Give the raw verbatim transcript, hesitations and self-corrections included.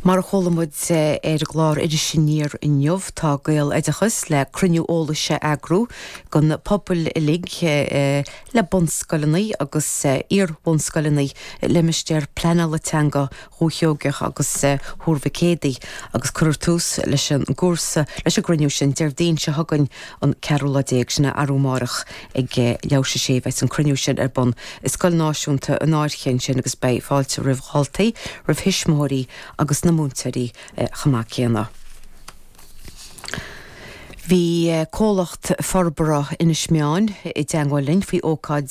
Mar a chuala muid ar an gclár Iris Aniar inniu tá Gaeloideachas le cruinniú eolais a eagrú don phobal uilig le bunscoileanna agus iar-bhunscoileanna limistéar pleanála teanga Dhúiche Sheoigeach agus Thuar Mhic Éadaigh agus cuirfear tús leis an gcúrsa leis an gcruinniú sin Déardaoin seo chugainn an ceathrú lá déag sin arú amárach ag leathuair tar éis a sé beidh an cruinniú sin ar bun i Scoil Náisiúnta an Fhairche ansin agus beidh fáilte roimh dhaltaí, roimh thuismitheoirí agus na múinteoirí chomh maith céanna. Bhí comhlacht forbartha Inis Meáin i dteagmháil linn faoi ócáid